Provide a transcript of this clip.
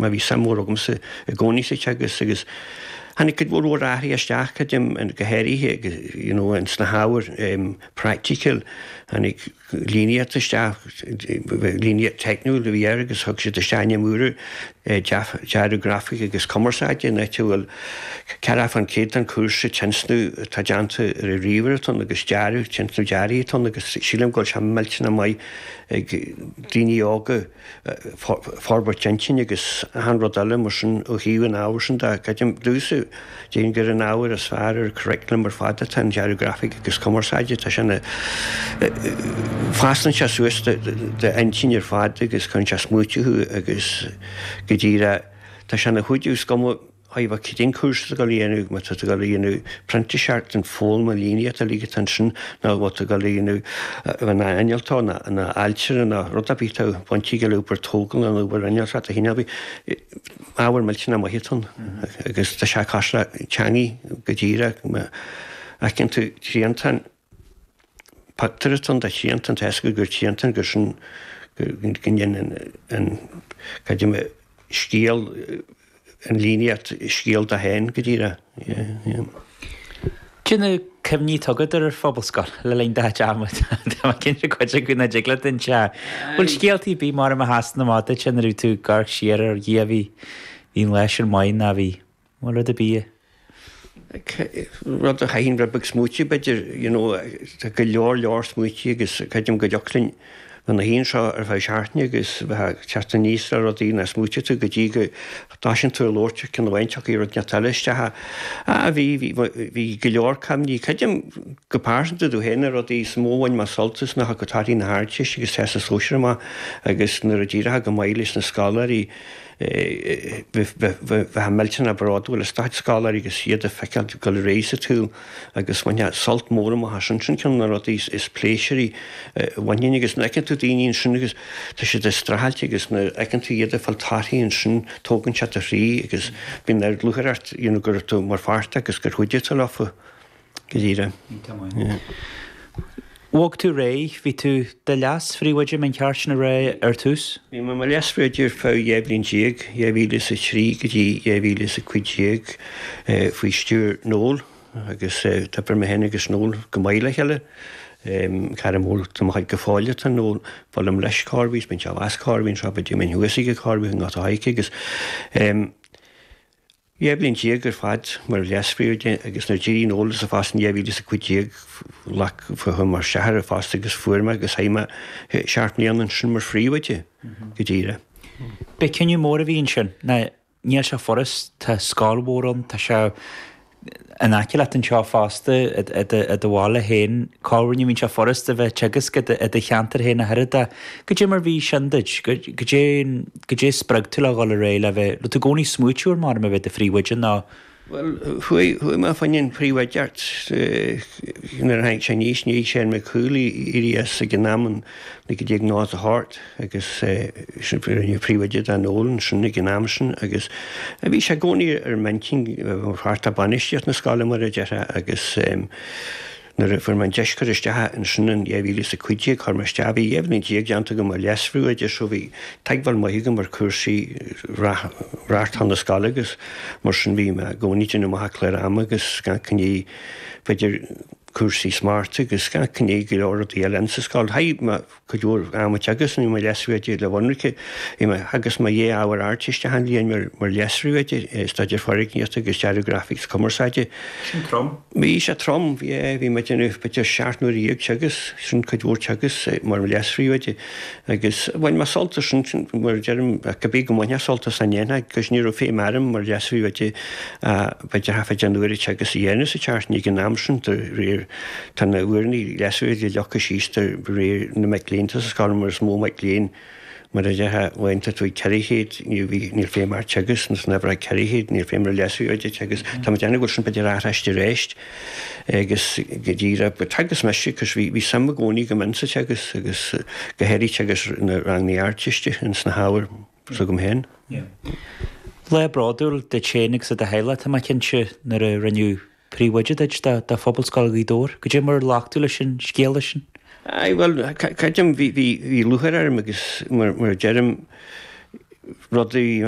mar bhí suim mhór agamsa i gcónaí sa teagasc agus tháinig cuid mhór mhór athruithe isteach, creidim, go háirithe you know ins na hábhair practical, tháinig líníocht isteach, líníocht teicniúil a bhí air agus thug siad isteach ainm úr air, dearadh grafaice agus cumarsáide, in áit a bhfuil 40% den chúrsa tionscnamh atá déanta ar an ríomhaire atá ann agus dearadh, tionscnamh dearaidh atá ann agus sílim go bhfuil sé millteanach maith ag daoine óga forbairt intinne agus achan rud eile mar sin ó thaobh an ábhair sin de. Creidim domhsa, déarfainn gur an ábhar is fearr ar an curriculum ar fad atá in dearadh grafaice agus cumarsáide. Tá sé ina, fosclaíonn sé suas d'intinn ar fad agus cuireann sé smaoitiú thú agus go díreach tá sé ina chuidiú is cuma Thaobh cén cúrsa atá tú ag dul a dhéanamh, má tá tú ag dul a dhéanamh printíseacht an foghlaim an líníocht uilig atá ansin nó má tá tú ag dul a dhéanamh a bheith ina innealtóir nó ina ailtire nó rud ar bith atá bainte le obair tógála nó obair innealtóireachta de chineál ar bith, ábhar millteanach maith atá ann agus tá sé cosúil le teangaidh go díreach má fheiceann tú triantán, Pictiúr atá ann de thriantán, tá a fhios agat gur triantán gur sin go ndéanann an, cad é mar, scéal, an líníocht scéal dó féin go díreach. Yeah, yeah. Cad é na cuimhní atá agat ar an phobalscoil le linn do chuid ama? Tá mé cinnte cuid acu nach dtig leat inse. Bhfuil scéaltaí ar bith mar a sheasann amach duit nuair a bhí tú ag amharc siar ar Dhia bhí bhí an lá sin maith ná bhí bhfuil rud ar bith Rud a chaithfinn rud beag smaoitiú b'fhéidir, you know, tá go leor leor smaointí agus creidim go dtiocfadh linn bheith ina shuí anseo ar feadh seachtaine agus bheith ag teacht aníos le rudaí nach smaoitigh tú go dtí go dtosaíonn tú ag labhairt ar ceann amháin tiocfaidh rud inteacht eile isteach. Ah, bhí, bhí, bhí go leor cuimhní. Creidim go pearsanta domh féin na rudaí is mó a bhain mé sult as ná go torthaí na hArdteiste agus Teastas Sóisear amach agus nuair a d'éireodh go maith leis na scoláirí, Bheifeá millteanach bródúil as do chuid scoláirí agus iad a feiceáil ag dul ar aghaidh sa tsaol agus bhainfeá sult mór amach as sin. Sin ceann de na rudaí is pléisiúraí a bhainfinn agus nuair a fheiceann tú daoine ansin agus tá siad ag streachailt agus nuair a fheiceann tú iad ag fáil torthaí ansin tógann sé do chroí agus bíonn lúcháir ort you know go raibh tú mar pháirt agus gur chuidigh tú leofa. Go díreach. Bhog tú ar aghaidh, bhí tú i do leas-phríomhoide, an ceart sin a rá ar tús? Bhí mé i mo leas-phríomhoide ar feadh 12 bhliain, 2003 go dtí 2015, faoi stiúir Noel agus d'oibrigh mé féin agus Noel go maith le chéile. Cara mór de mo chuid go fóill atá in Noel. Buailim leis corruair, bíonn sé abhus corruair, bíonn sé b'fhéidir go mbeinn thuas aige corruair i nGort a' Choirce agus 12 bliain ar fad mar leas-phríomhoide agus nuair a d'éirigh Noel as a phost in 2015 ghlac chuaigh mé isteach ar an phost agus fuair mé agus chaith mé seacht mbliana ansin mar phríomhoide go díreach. B'é cinneadh mór a bhí ansin. Ná níl sé furast, tá scoil mhór ann, tá sé in aice leat anseo fosta i do bhaile féin. Corruair ní bhíonn sé furast a bheith ag teagasc i do cheantar féin ach oiread. Goidé mar bhí sin duit? Goidé goidé a spreag tú le dhul ar aghaidh le bheith, raibh tú i gcónaí ag smaoitiú ar mar a bheith i do phríomhoide nó? Bhuel, chuaigh, chuaigh mé fá choinne an phríomhoideacht nuair a tháinig sé aníos, i ndiaidh Shane McCool éirí as ag an am in 1998 agus sin rinneadh príomhoide de Noel ansin ag an am sin agus bhí sé i gcónaí ar m'intinn mar pháirt de bainistíocht na scoile mar a déarfá agus Nuair a fuair mé an deis cur isteach ansin in 2015, chuir mé isteach, bhí 12 bhliain déanta agam mar leas-phríomhoide so bhí tuigbheáil maith agam ar chúrsaí reáchtáil na scoile agus mar sin bhí mé i gcónaí ag déanamh amach an clár ama agus gach gné, b'fhéidir cúrsaí smachta agus gach gné go leor rudaí eile insa scoil. Chaith mé cuid mhór ama ag teagasc nuair a bhí mé mar leas-phríomhoide le Mhuinearcha. Bhí mé theagasc mé dhá ábhar Ardteiste achan bhliain mar mar leas-phríomhoide, Staidéar Foirgníochta agus Dearadh Grafaic is Cumarsáide. Sin trom. Bhí sé trom, yeah, bhí mé ag déanamh b'fhéidir 17 n-uaire teagasc, sin cuid mhór teagasc mar leas-phríomhoide agus bhain mé sult as sin, mar a deirim, cibé go mbainfeá sult as an ndéanfá, agus ní raibh feidhm orm mar leas-phríomhoide b'fhéidir half a deich n-uaire teagasc a dhéanamh sa tseachtain ag an am sin de réir Tá na huaireanna leas-phríomhoide leagtha síos de réir na mic léinn atá sa scoil mar is mó mac léinn mar a déarfá uaireanta tú ag 400 ní bhí níl feidhm ort teagasc nó san uimhir 400 níl feidhm ar leas-phríomhoide teagasc. Tá mé ag déanamh go bhfuil sin b'fhéidir athraithe arís agus go díreach but theagasc mise cos bhí bhí suim i gcónaí agam insa teagasc agus go háirithe teagasc na ranganna Ardteiste ins na hábhair s'agam féin. Lá bródúil duit féin agus do do theaghlach tá mé cinnte nuair a rinneadh Príomhoide duit de Phobalscoil Ghaoth Dobhair. Goidé mar a ghlac tú leis an scéala sin? Aye, bhuel, creidim, bhí, bhí, bhí lúcháir orm agus mar, mar a deirim, rudaí.